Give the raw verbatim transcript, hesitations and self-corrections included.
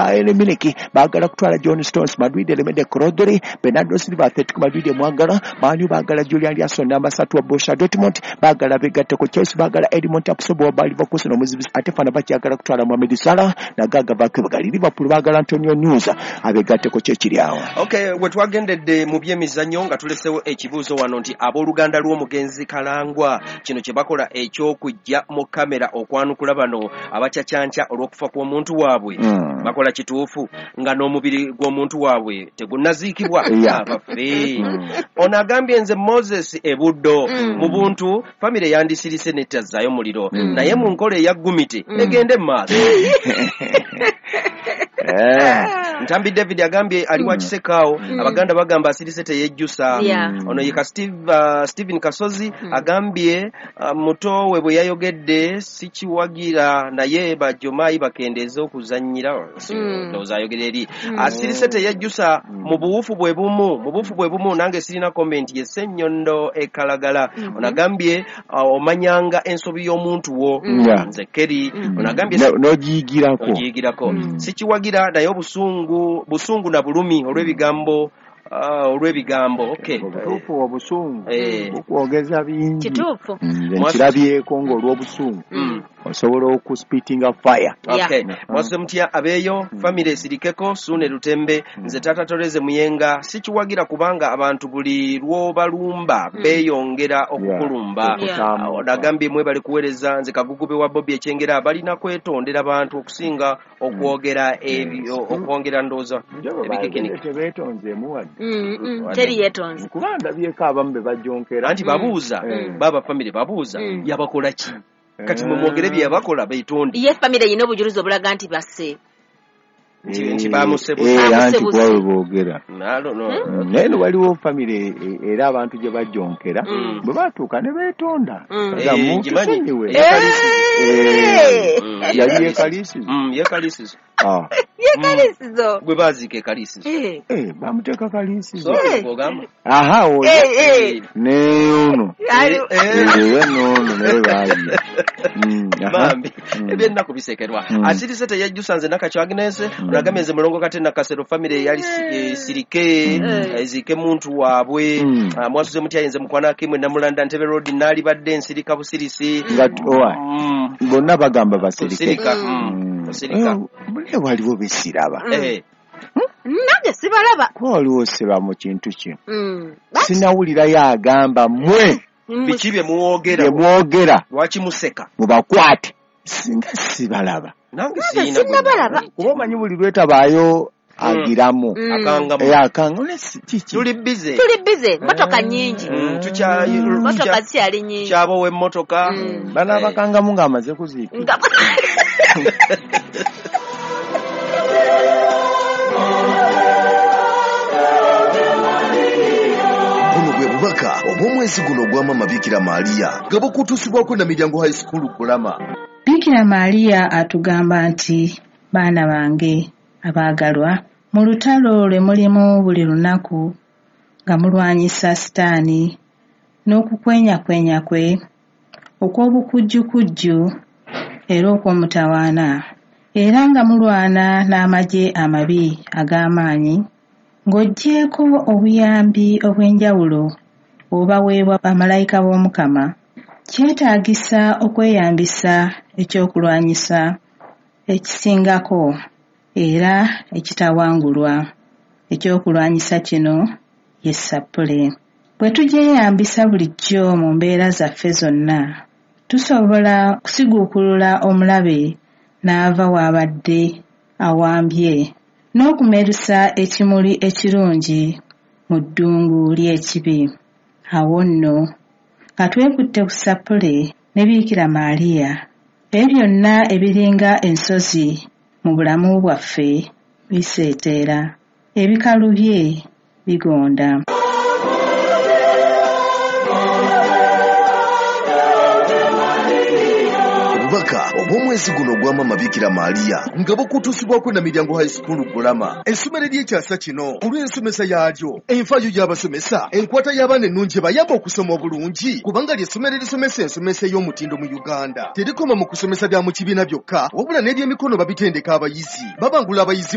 Bayern Munich baagala kutwala John Stones, Madrid elemedde Rodri, Bernardo Silva Atletico Madrid emwagala, Man U baagala Julian Ryerson namba ssatu wa Borussia Dortmund, baagala begatteko Chelsea, baagala Edmond Tapsoba wa Bayer Leverkusen omuzibizi, ate Fenerbahce kutwala Mohamed Salah nagaga bakebagali. Liverpool baagala Antonio Nusa abegatteko kyekiri awo. Okay, we twagendedde mu byemizannyo nga tulesewo ekibuuzo wano nti abooluganda lw'omugenzi Kalangwa kino kye bakola eky'okujja mu kamera okwanukula bano abacacanca olw'okufa kw'omuntu waabwe mm. bakola kituufu nga n'omubiri gw'omuntu waabwe tegunnaziikibwa Yeah. abaffe. Mm. Ono agambye nze Moses Ebuddo Mm. mu buntu famire yandisirise n'ettazaayo muliro Mm. naye mu nkola eya gumiti Mm. egende mu maaso. Eh. Ntambi David agambye ali wa Mm. Kisekaawo Mm. abaganda bagamba asirise teyejjusa. Yeah. Ono ye ka Steve, uh, Stephen Kasozi Mm. agambye uh, muto we bwe yayogedde sikiwagira naye bajomayi bakendeeze okuzannyira. Mm. Ndowooza ayogera eri Mm. asirise teyejjusa Mm. mu buwufu bwe bumu mu buwufu bwe bumu nange sirina comment ye Ssenyondo e Kalagala. Mhm. Ono agambye uh, omanyanga ensobi y'omuntu wo Mm. Yeah. nze Kerry. Mm. Ono agambye No- n'ogiyigirako ogiyigirako Mm. sikiwagira naye obusungu busungu na bulumi olw'ebigambo uh, olw'ebigambo okay. Obutuufu obusungu Eh. bukwogeza bingi. Kituufu. Nze Mwasi- nkirabyeko ng'olw'obusungu Mm. osobola okuspitinga fire. Yeah. Okay. Mm. Mwasuze mutya abeeyo famire esirikeko Suune Lutembe nze taata Toreze Muyenga sikiwagira kubanga abantu buli lw'obalumba Mm. beeyongera okukulumba. Yeah. Ah, ono agambye mwebale kuweereza nze Kagugube wa Bobi Ekyengera balina kwetondera bantu okusinga okwogera ebyo okwongera ndowooza ebikekenike. Tebeetonzeemu wadde. Mm, mm. Teri yeetonze. Kuba ndabyeko abamu be bajonkera Anti babuuza Mm. baba famire babuuza Mm. yabakola ki kati mwe mwogere bye yabakola beetonde Ye famire erina obujulizi obulaga nti basse. Nti- nti bamusebuse. Eh, anti Bamusebuse. kuba bwe boogera. I don't know. Mm, naye no waliwo famire eh, era abantu gye bajonkera Mm. bwe batuuka ne beetonda. Mm. Nga Eh, muntu ngimanyi. sonyiwe. Eh, Eh, Mm. yali yekalisizo. Mm, ye Kalisizo. Ah, Ye Kalisizo. Gwe baaziika e Kalisizo. Eh. eh, bamuteeka Kalisizo. So, Eh. gw'ogamba. Aha, oyo Eh, eh. ne ono Ali- Eh, era n'ono naye baali. Mm, aha. Bambi Mm. ebyennaku bisekerwa. Mm. Asirise teyejjusa nze Nakakyo Agnes. Mm. Ono agambye nze Mulongo Kate Nakasero famire eyali si- esirike Mm. eziike muntu waabwe. Mm. Ah, mwasuze mutya nze mukwana Kimwe Namulanda Ntebe Road naalibadde nsirika busirisi. Nga t- owa Mm. bonna bagamba basirike. Kusirika. Mm. Mm. Mm. Kusirika. Eh, naye waliwo besiraba Mm. Eh. Nange sibalaba. Kuba waliwo siba mu kintu kino Mm. sinawulirayo agamba mmwe Mm. Biki bye muwogera bye mwogera lwaki museka mubakwate singa sibalaba nange Nange siyina gwe sinnabalaba. kuba omanyi buli lwetabaayo agiramu Mm. akangamu Eh, akanga ne si- kiki tuli bize Tuli bize motoka nnyingi. Mm, tukya- Motoka tukya- zikyali nnyingi. tukyabowa emmotoka. Mm. banaabakangamu ng'amaze kuziika. Nga Buno bwe bubaka obw'omwezi guno ogwa Maama Bikira Maria nga bukutuusibwako Namiryango High School Kulama. Bikira Maria atugamba nti baana bange abaagalwa mu lutalo lwe mulimu buli lunaku nga mulwanyisa sitaani n'okukwenyakwenya kwe okw'obukujjukujju era okw'omutawaana era nga mulwana n'amagye amabi ag'amaanyi ng'oggyeeko obuyambi obw'enjawulo obubaweebwa bamalayika b'Omukama kyetaagisa okweyambisa ekyokulwanyisa ekisingako era ekitawangulwa. Ekyokulwanyisa kino ye ssappule. Bwe tugyeyambisa bulijjo mu mbeera zaffe zonna tusobola kusiguukulula omulabe n'ava w'abadde awambye n'okumerusa ekimuli ekirungi mu ddungu ly'ekibi. Awo nno nga twekutte ku ssappule ne Bikira Maria ebyo byonna ebiringa ensozi mu bulamu bwaffe biseeteera, ebikalubye bigonda. Obubaka obw'omwezi guno ogwa Maama Bikira Maria nga bukutuusibwako Namiryango High School Kulama essomero ery'ekyasa kino olw'ensomesa yaalyo enfaayo y'abasomesa enkwata y'abaana ennungi ebayamba okusoma obulungi kubanga ly'essomero erisomesa ensomesa ey'omutindo mu Uganda terikoma mu kusomesa bya mu kibiina byokka wabula n'ebyemikono babitendeka abayizi babangula abayizi.